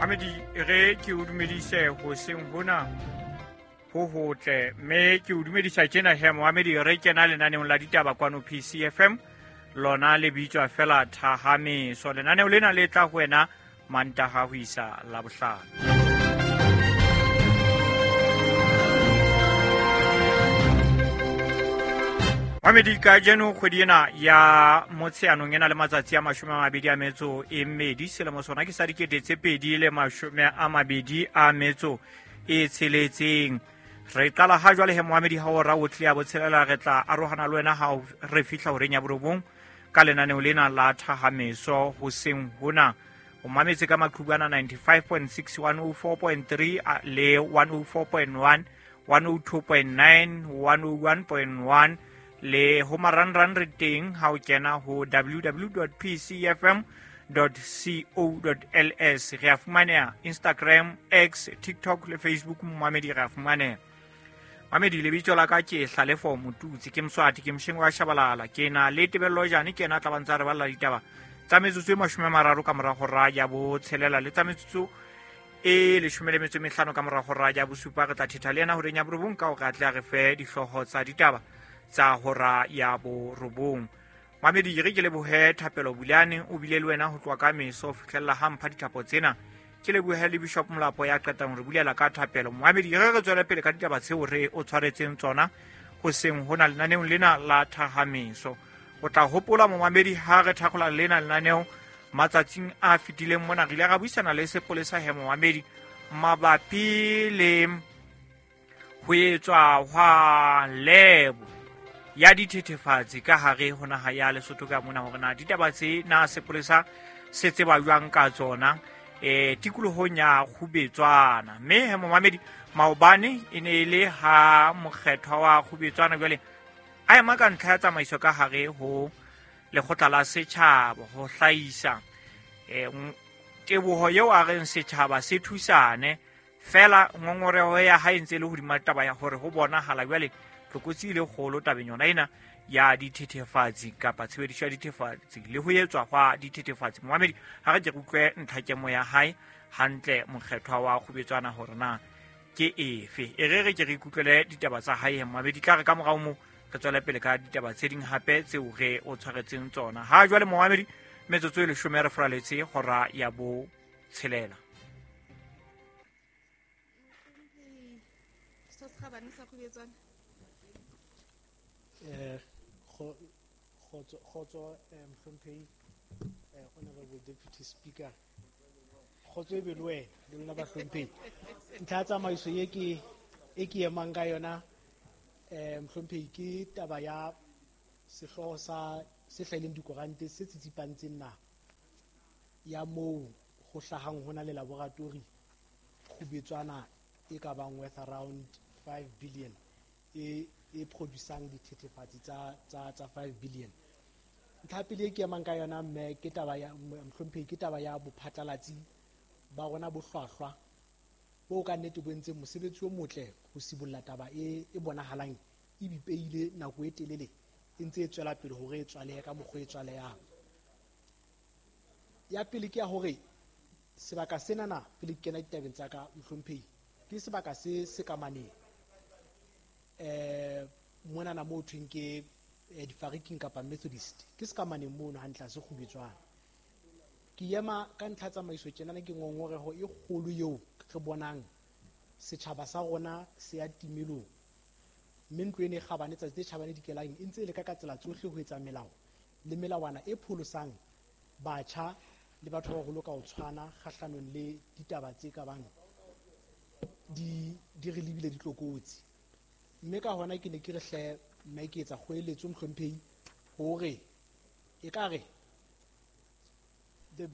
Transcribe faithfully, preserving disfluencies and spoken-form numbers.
Mamedi re ke o dumedise hoseng hona ho hotle, mme ke o dumedisa tjena he Mohamedi re kena lenaneong la ditaba kwano P C F M, lona le bitswa fela Thahameso. Lenaneo lena le tla ho wena Mantaha ho isa Labohlano. Mamedi kajeno kgwedi ena ya Motsheanong ena le matsatsi a mashome a mabedi a metso e mmedi, selemo sona ke sa dikete tse pedi le mashome a mabedi a metso e tsheletseng. Re qala ha jwale he Mohamedi ha ora o tle ya botshelela, re tla arohana le wena ha re fihla horeng ya borobong ka lenaneo lena la Thahameso hoseng hona. O mametse ka maqhubana ninety-five point six, one oh four point three le one oh four point one, one oh two point nine, one oh one point one le ho marangrang re teng ha o kena ho w w w dot p c f m dot co dot l s. Re a fumaneha Instagram, X, TikTok le Facebook. Momamedi re a fumaneha. Mamedi lebitso la ka ke Hlalefo Motutsi, ke Mswati, ke Msheng wa Shabalala, ke na le Tebello Jane, ke yena a tla ba ntsa re balla ditaba tsa metsotso e mashome a mararo ka mora hora ya botshelela le tsa metsotso e leshome le metso e mehlano ka mora hora ya bosupa. Re tla thetha le yena horeng ya borobong ka hore a tle a re fe dihlooho tsa ditaba tsa hora ya borobong. Mamedi re ke lebohe Thapelo Bulane, o bile le wena ho tloha ka meso ho fihlella ha mpha dithapo tsena. Ke lebohe le Bishop Molapo ya qetang re bulela ka thapelo. Mamedi re re tswele pele ka ditaba tseo re o tshwaretseng tsona hoseng hona lenaneong lena la Thahameso. O tla hopola momamedi ha re thakgola lena lenaneo matsatsing a fetileng mona re ile ra buisana le sepolesa he momamedi mabapi le ho etswa hwa lebo ya dithethefatsi ka hare ho naha ya Lesotho ka mona, hore na ditaba tse na sepolesa se tseba jwang ka tsona eh tikolohong ya Kgubetswana. Mme he momamedi maobane e ne e le ha mokgethwa wa Kgubetswana jwale a ema ka ntlha ya tsamaiso ka hare ho lekgotla la setjhaba ho hlahisa eh teboho eo a reng setjhaba se thusane, fela ngongoreho ya hae ntse le hodima taba ya hore ho bonahala jwale tlokotsi e le kgolo tabeng yona ena ya dithethefatsi kapa tshebediso ya dithethefatsi le ho etswa hwa dithethefatsi. Momamedi ha re ke re utlwe ntlhakemo ya hae hantle mokgethwa wa Kgubetswana hore na ke efe. E re re ke re ikutlwele ditaba tsa hae momamedi, tla re ka morao moo re tswele pele ka ditaba tse ding hape tseo re o tshwaretseng tsona. Ha jwale momamedi metsotso e leshome re fraletse hora ya bo tshelela. Eh kgotso kgotso Mohlomphehi, Honorable Deputy Speaker, kgotso e be le wena le lona bahlomphehi. Ntlha ya tsamaiso e ke e ke emang ka yona eh Mohlomphehi ke taba ya sehlooho sa se hlahileng dikorante se tsitsipantseng naha ya moo ho hlahang hona le laboratory Kgubetswana e ka bang worth around five billion e e producang dithethefatsi tsa tsa tsa five billion. Ntlha pele e ke emang ka yona mme ke taba ya Mohlomphehi ke taba ya bophatlalatsi ba rona bo hlwahlwa bo ka nnete bo entseng mosebetsi o motle ho sibolla taba e e bonahalang e bipeile nako e telele e ntse e tswela pele hore e tswalehe ka mokgwa e tswalehang. Ya pele ke ya hore sebaka senana pele ke kena ditabeng tsa ka Mohlomphehi ke sebaka se se ka maneng eh monana mo thweng ke difariking kapa Methodist ke se ka maneng mono hantle se Kgubetswana. Ke ema ka ntlha tsamaiso tjenana ke ngongoreho e kgolo eo re bonang setjhaba sa rona se ya timelong, mme ntlo ena e kgabane tsatsi tse tjhabane dikelang e ntse e leka ka tsela tsohle ho etsa melao le melawana e pholosang batjha le batho ba baholo ka ho tshwana kgahlanong le ditaba tse ka bang di di re lebile ditlokotsi. Mme ka hona ke ne ke re hle mme ke etsa kgoeletso Mohlomphehi hore ekare the